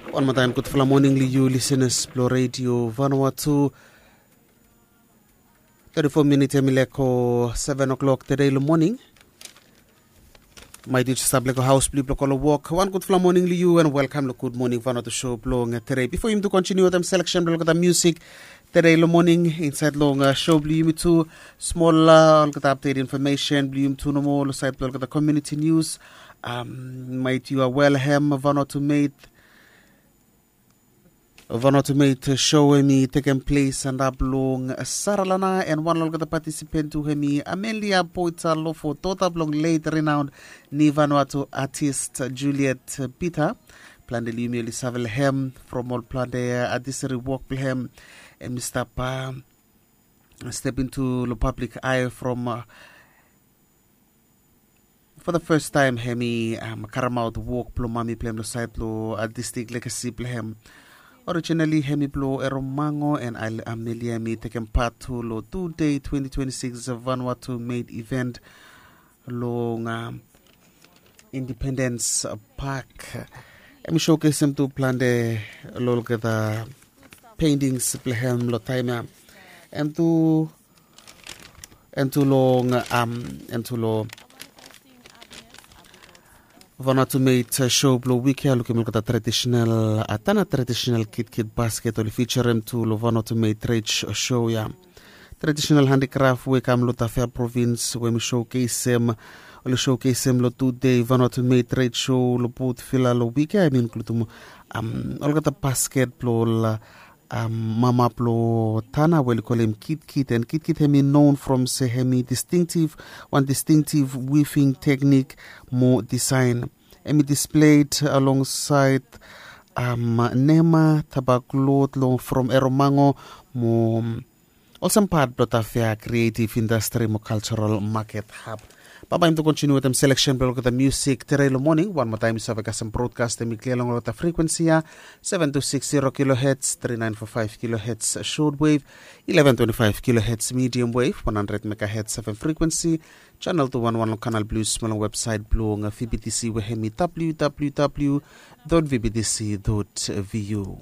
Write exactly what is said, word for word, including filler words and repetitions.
Wan moa taem gudfala moning long yu lisenas blong redio Vanuatu. Teti fo minit em i leko seven o'clock tede long moning. Maet yu stap leko haos blong yu blong go long wok. Wan gudfala moning long yu en welkam long Gud Moning Vanuatu show blong tede. Bifo yumi tu kontiniu wetem seleksen blong olgeta musik tede long moning insaed long show blong yumi tu, smol olgeta apdet infomesen blong yumi tu nomo long saed blong olgeta komuniti nius. Maet yu a welhem Vanuatu Made Vanuatu Made show em i tekem ples antap long Saralana, en wan long olgeta patisipent tu hem i Amelia Boita Lofo, dota blong late renowned ni Vanuatu artist Juliet Peter. Plante long yumi oli save long hem from ol plante artistry wok blong hem. Em i stap step into long public eye from for the first time hem i karemaot wok blong mami blong hem long saed long artistic legacy blong hem. Originally hem i blong Eromango, en Amelia hem i tekem pat tu long two day twenty twenty-six Vanuatu Made event long Independence Park. Em i showcasem tu plante long olgeta paintings blong hem long taem ya. Em tu em tu long em tu long Vanuatu Made show blong wik ya, lukim olgeta traditional Tana traditional kitkit basket oli fijarem tu long Vanuatu Made trade show ya. Traditional handikraf we i kam long Tafea provins we mi showcasem oli showcasem long tu dei Vanuatu Made trade show long Port Vila long wik ya, em i inkludim olgeta basket blong ol mama blong Tana we oli kolem kitkit, en kitkit hem i known from se hem i distinctive, wan distinctive weaving teknik mo design. Hem i displayed alongside nema tabaklot long from Eromango mo olsem pat blong Tafea creative industry mo cultural market hub. Bambae yumi tu kontiniu wetem seleksen blong olgeta musik tede long moning. Wan moa taem yu save kasem brodkast em i klia long olgeta frekuensi ya, seven two six zero kilohertz, three nine four five kilohertz short wave, eleven twenty-five kilohertz medium wave, one hundred megahertz seven frekuensi, channel two one one long Kanal Plus mo long websaet blong V B T C we hem i W W W dot V B T C dot V U.